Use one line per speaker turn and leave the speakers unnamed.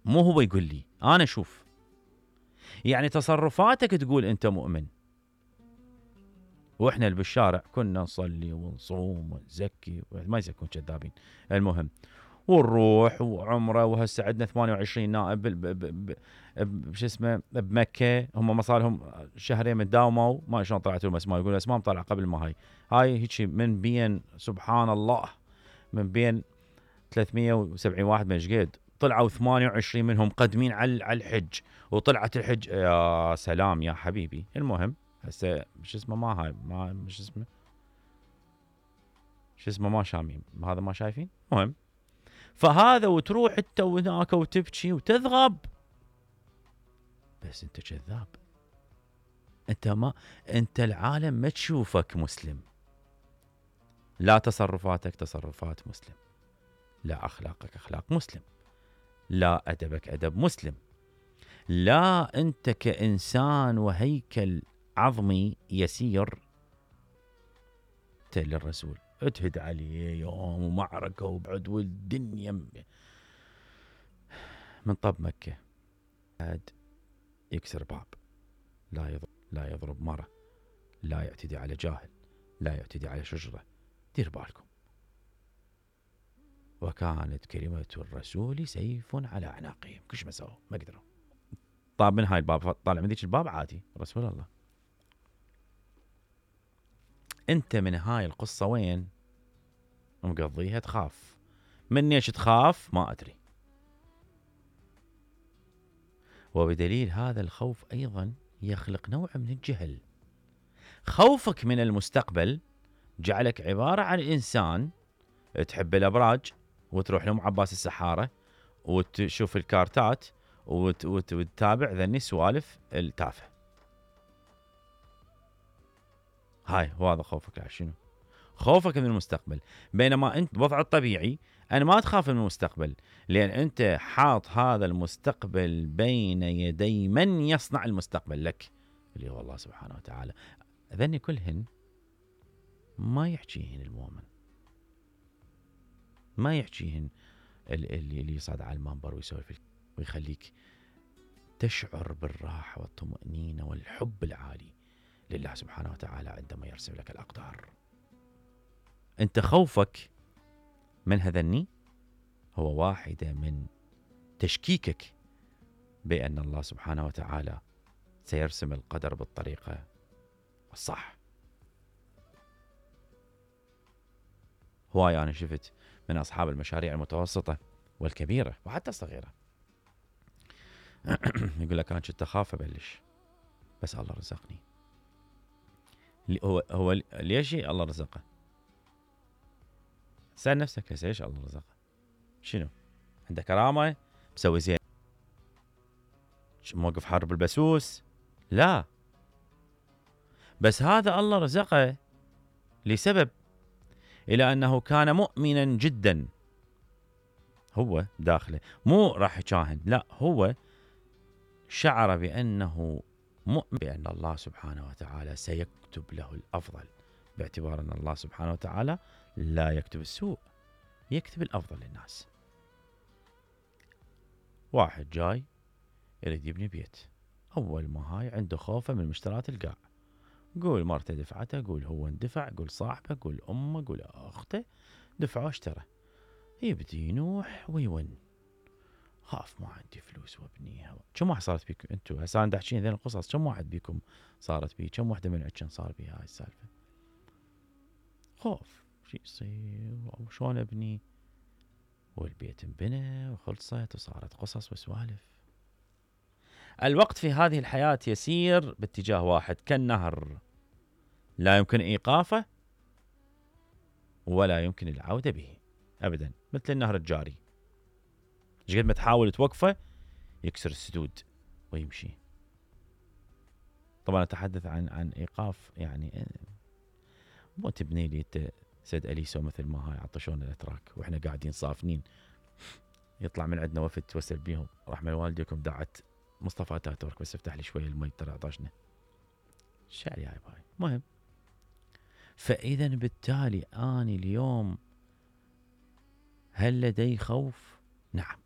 مو هو يقول لي، انا اشوف. يعني تصرفاتك تقول انت مؤمن. واحنا اللي بالشارع كنا نصلي ونصوم ونزكي، ما يزكون كذابين، المهم ونروح وعمره. وهسه عندنا 28 نائب شو اسمه بمكه، هم ما صار لهم شهرين من داوموا، ما شلون طلعت لهم اسماء، يقول اسماء طالعه قبل ما هاي هيك من بين، سبحان الله، من بين 370 واحد من قد طلعوا 28 منهم قدمين على الحج، وطلعت الحج. يا سلام يا حبيبي. المهم هسه شو اسمه ما هاي ما شو اسمه ما شامين هذا ما شايفين. المهم فهذا وتروح انت هناك وتبكي وتذغب، بس انت كذاب. انت العالم ما تشوفك مسلم. لا تصرفاتك تصرفات مسلم، لا اخلاقك اخلاق مسلم، لا ادبك ادب مسلم، لا انت كانسان وهيكل عظمي يسير للرسول اتهد عليه يوم ومعركه وبعدو الدنيا من طب مكه، قاعد يكسر باب، لا يضرب مرة، لا يعتدي على جاهل، لا يعتدي على شجرة. دير بالكم. وكانت كلمة الرسول سيف على أعناقهم، كش ما سووا ما قدروا. طاب من هاي الباب، طالع من ذيك الباب عادي رسول الله. انت من هاي القصة وين مقضيها؟ تخاف. من ايش تخاف؟ ما أدري. وبدليل هذا الخوف أيضا يخلق نوع من الجهل. خوفك من المستقبل جعلك عبارة عن إنسان تحب الأبراج وتروح لهم عباس السحارة وتشوف الكارتات وتتابع ذني السوالف التافهة. هاي هذا خوفك. شنو؟ خوفك من المستقبل. بينما أنت بوضع الطبيعي أنا ما تخاف من المستقبل، لأن أنت حاط هذا المستقبل بين يدي من يصنع المستقبل لك، اللي هو الله سبحانه وتعالى. ذني كلهن ما يحكيهن المؤمن، ما يحكيهن اللي يصعد على المنبر ويسولف ويخليك تشعر بالراحة والطمأنينة والحب العالي لله سبحانه وتعالى عندما يرسم لك الأقدار. أنت خوفك من هذني هو واحدة من تشكيكك بأن الله سبحانه وتعالى سيرسم القدر بالطريقة الصح. هواي أنا شفت من أصحاب المشاريع المتوسطة والكبيرة وحتى الصغيرة يقول لك أنا كنت أخاف أبلش بس الله رزقني. هو ليش الله رزقه؟ سأل نفسك ليش الله رزقه؟ شنو؟ عنده كرامة؟ مسوي زين؟ موقف حرب البسوس؟ لا، بس هذا الله رزقه لسبب، إلى أنه كان مؤمنا جدا. هو داخله مو راح يشاهن، لا، هو شعر بأنه مؤمن بأن الله سبحانه وتعالى سيكتب له الأفضل، باعتبار أن الله سبحانه وتعالى لا يكتب السوء، يكتب الأفضل للناس. واحد جاي يريد يبني بيت، أول ما هاي عنده خوفه من مشترات القاع، قول مرته دفعته، قول هو اندفع، قول صاحبه، قول أمه، قول أخته، دفعه اشترى. يبدي ينوح ويون، خاف ما عندي فلوس وابنيها. كم واحد صارت بيكم انتو هسه انا احكي ذين القصص؟ كم واحد بيكم صارت بيه؟ كم واحده من عندكم صار بيها هاي السالفه؟ خوف شو يصير وشلون ابني، والبيت انبنى وخلصت وصارت قصص وسوالف. الوقت في هذه الحياه يسير باتجاه واحد كالنهر، لا يمكن ايقافه ولا يمكن العوده به ابدا، مثل النهر الجاري، قد ما تحاول توقفه يكسر السدود ويمشي. طبعا اتحدث عن ايقاف، يعني مو تبني لي انت سيد اليسو مثل ما هاي عطشونا الاتراك واحنا قاعدين صافنين، يطلع من عندنا وفد توسل بيهم رحمه والديكم دعت مصطفى اتاتورك بس افتح لي شويه المي ترى عطشنا. الشعر يا باي. مهم، فاذا بالتالي اني اليوم هل لدي خوف؟ نعم،